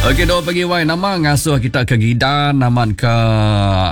Okey dua pagi wai nama ngasuh kita ke gidan amat ke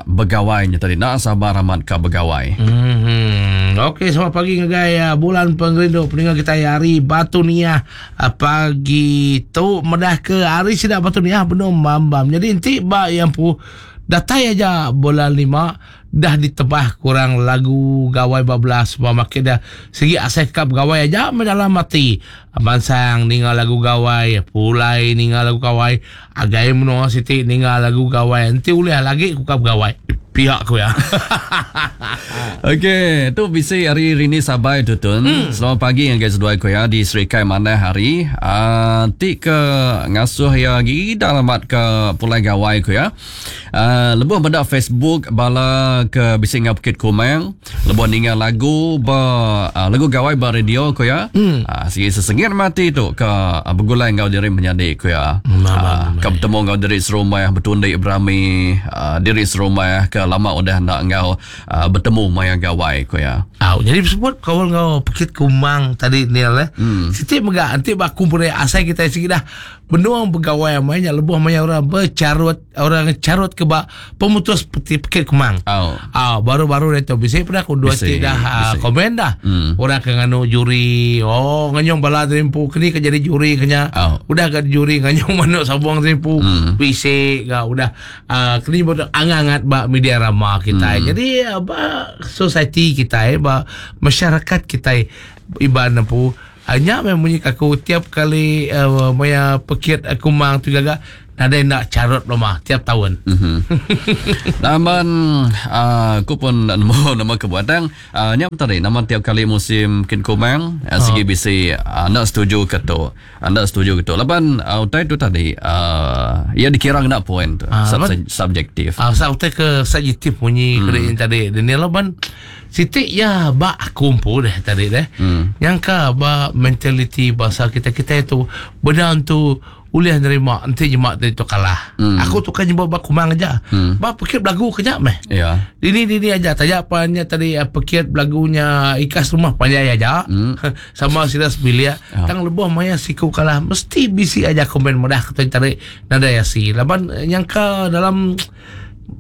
begawai nya tadi nak sabar amat ke begawai. Hmm. Okey selamat pagi ngagai uh, bulan pengerindu peninga kita hari Batu Niah uh, pagi tu medah ke hari sida Batu Niah benung mambam. Jadi enti ba yang pu datai aja bulan lima Dah ditebah kurang lagu gawai ba belas ba makin dah sigi asai ka begawai aja meh dalam ati. Mansang ninga lagu gawai, pulai ninga lagu gawai, agai menua siti ninga lagu gawai enti ulih lagi ku ka begawai pia ku iya. Okey, tu bisi hari Rini Sabai tu tun. Hmm. Selamat pagi ngagai seduai ku ya di Serikai Manah hari. Uh, ti ke ngasuh ya agi dalam amat ke pulai gawai ku ya. Uh, lebuh meda Facebook bala ke bisi enggau Bukit Kumang, lebuh ninga lagu ba uh, lagu gawai ba radio ko ya. Mm. Uh, sigi sesengit mati tu ke uh, begulai enggau diri menyadi ko ya. Uh, ke betemu enggau diri serumah betundi berami uh, diri serumah ke lama udah enda enggau uh, betemu maya gawai ko ya. Au, jadi sebut kawan enggau Bukit Kumang tadi Neil eh. Mm. Siti mega enti ba aku asai kita sigi dah Benung begawai amai nya lebuh maya orang becharut orang charut ke ba pemutus peti pekit kumang. Oh. Ah baru-baru dia tu bisi peda aku dua ti dah ah, komen dah. Orang ke nganu juri, oh nganyung bala terimpu keni ke jadi juri kenya. Oh. Udah ke juri nganyung manuk sabung terimpu bisi ga udah ah, keni buat angat-angat ba media rama kitai. Jadi ah, ba society kitai ba masyarakat kitai Iban empu Nya meh munyi ka aku tiap kali maya pekit kumang tu gaga nadai enda charut belama tiap taun. Laban aku pun enda nemu nama kebuah tang nya pun tadi nama tiap kali musim pekit kumang sigi bisi enda setuju ke tu enda setuju ke tu laban utai tu tadi iya dikira ngena point tu subjektif. Pasal utai ke subjektif munyi ke tadi laban Siti iya ba aku empu deh tadi deh. Hmm. Nyangka ba mentaliti bangsa kita kita itu benda tu ulih nerima enti jema tadi tu kalah. Hmm. Aku tu kan nyebut ba kumang aja. Hmm. Ba pekit belagu ke nya meh. Ya. Dini dini aja taja pa nya tadi eh, pekit belagunya ikas rumah panjai aja. Hmm. Sama sida sebilik. Ya. Tang lebuh maya siku kalah mesti bisi aja komen mudah kata tadi nadai asi. Laban eh, nyangka dalam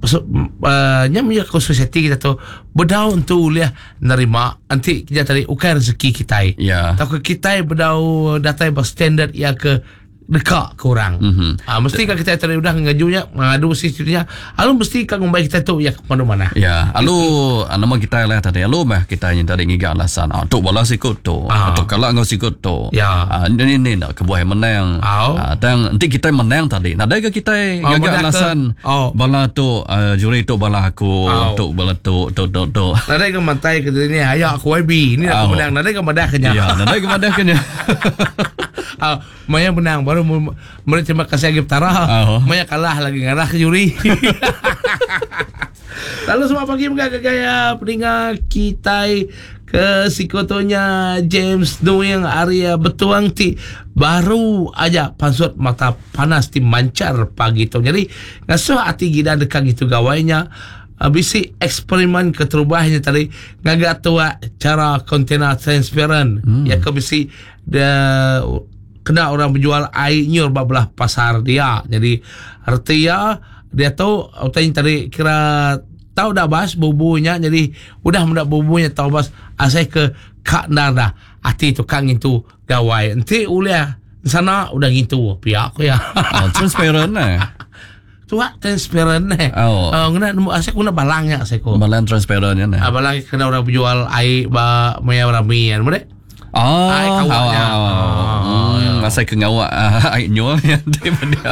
uh, nya mih aku society kita tu bedau entu ulih nerima enti kita tadi ukai rezeki kitai. Ya. Tauka kitai bedau datai ba standard ya ke deka ke orang. Mm -hmm. Ha, mesti kan kita tadi udah ngaju nya ngadu si nya alu mesti kan ngumbai kita tu ya ke mana mana. Ya, alu nama kita lah tadi alu meh kita yang tadi ngiga alasan. Ah tu bala sikut tu. Ah. Tu kala enggau sikut tu. Ya. Ah ni ni nak kebuah menang. Au. Ah, tang enti kitai menang tadi nadai ke kitai Oh, ngaga madah ke- alasan Oh. bala tu uh, juri tu bala aku Au. tu bala tu tu tu tu. Nadai ke mantai ke ni ayak aku YB. Ni aku Au. menang. Nadai ke madah ke nya. Ya, nadai ke madah ke nya. Ah, maya menang baru meri terima kasih lagi petara. Au. Maya kalah lagi ngarah ke juri. Lalu semua pagi mega ke gaya peninga kitai ke sikutunya James Nuing ari Betuang ti baru aja pansut mata panas ti manchar pagi tu. Jadi ngasuh ati gida deka ngitu gawai nya bisi eksperimen keterubah nya tadi ngaga tuak chara kontena transparent hmm. Ya ke bisi de kena orang berjual air nyur ba belah pasar dia. Jadi reti ya diatu utai nya tadi kira tau dah bas bubu nya jadi udah meda bubu nya tau bas asai ke ka endar dah ati tu ka ngintu gawai enti ulih sana udah ngintu pia ku iya. Oh, transparent eh. Tuak transparent eh. Oh. Uh, ngena nemu asai ku ngena balang nya asai ku. Balang transparent nya. Ah, balang kena orang berjual air ba maya rami kan. Boleh? Oh, Ai kawak nya. Oh, Oh, ya. Asai ke ngawak ai nyual nya ti dia.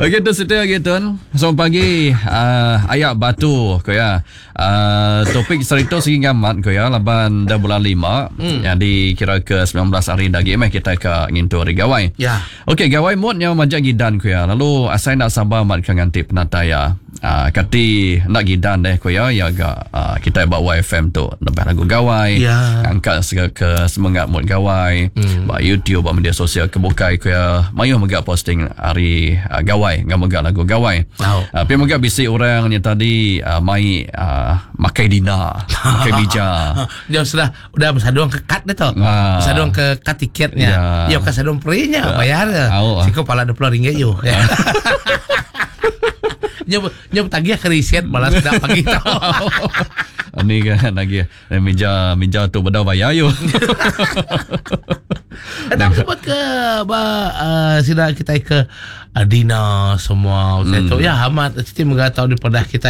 Okey tu setia lagi tuan. Selamat pagi uh, ayak batu ko ya. Uh, topik serita sigi ngamat ko ya laban dah bulan 5 hmm. Jadi kira ke 19 hari lagi meh kita ke ngintu hari gawai. Ya. Okey gawai mood nya majak gidan ko ya. Lalu asai nak sabar mat ke nganti penatai ya. Uh, kati nak gidan deh ko ya ya ga uh, kita ba YFM tu lebih lagu gawai Ya. angkat segala ke semangat mood gawai mm. ba YouTube ba media sosial kebukai ko ya mayuh mega posting hari uh, gawai ngam mega lagu gawai. Tau. Uh, pi mega bisi orang yang tadi uh, mai uh, makai dina, makai bija. Dia sudah udah bersadung ke kad dia tu. Ah. Bersadung ke kad tiketnya. Ya. Ya bukan sadung perinya bayar. Au. Siko pala RM20 yo. Ya. Nya nya tagih ke reset malas dah pagi tau. Ni kan lagi eh, meja meja tu bedau bayar yo. Tak sebut ke ba uh, sida kita ke uh, Dina semua mm. tu ya amat siti mega tau di pedah kita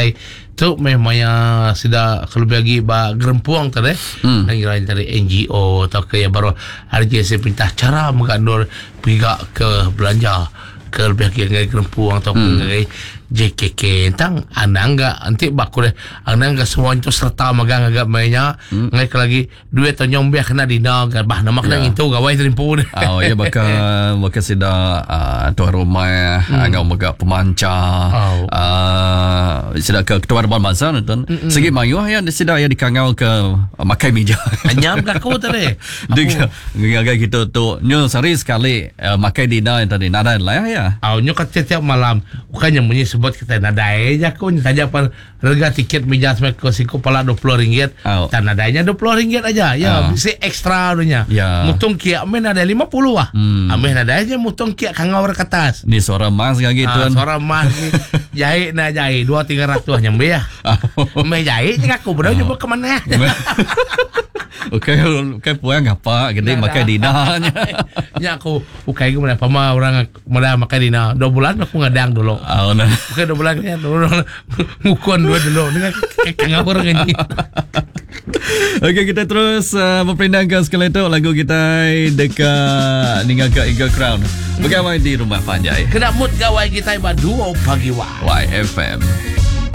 tu meh maya sida kalau lagi ba gerempuang tadi mm. ngira dari NGO atau ke yang baru RJC perintah cara mengandur pihak ke belanja ke lebih lagi dengan gerempuang atau mm. JKK tentang anang enggak nanti baku deh anang enggak semua itu serta megang agak mainnya mm. ngai lagi duit atau nyombeh kena dina bah nama kena Ya. ngintu gawai terimpu deh Oh ya bakal bakal sida uh, tuan rumah mm. ngau mega pemanca Oh. uh, sida ke ketua dewan bangsa tuan. Segi mayuh ya sida ya dikangau ke uh, makai meja. Anyam ke aku tadi. Dia ngagai kita tu nyo sehari sekali uh, makai dina yang tadi nadai lah ya. Aw, nyo kat tiap malam. Bukannya bunyi sebut kita nadai aja aku saja pan harga tiket meja sampai ke siko pala RM20. Aw. Dan nadainya RM20 aja. Ya, Ah. bisi ekstra dunya. Ya. Mutung kiak men ada 50 ah. Hmm. Ameh nadai aja mutung kiak kangau ke atas. Ni suara mas lagi Ah, tuan. suara mas ni jahit na jahit 2 300 nyambe ya. Meh jahit je aku bro nyoba ke mana. Okey, okey puang apa gede makai dina nya. Nya aku ukai ke mana pama orang mana makai dina. 2 bulan aku ngadang dulu. Oh, nah. Bukan 2 bulan ni dulu ngukun dua dulu dengan kangau orang ni. Okey, kita terus uh, berpindahkan sekali tu lagu kita dekat ninggal ke Eagle Crown. Bergawai di rumah panjai. Kena mood gawai kita iba 2 pagi wah. YFM.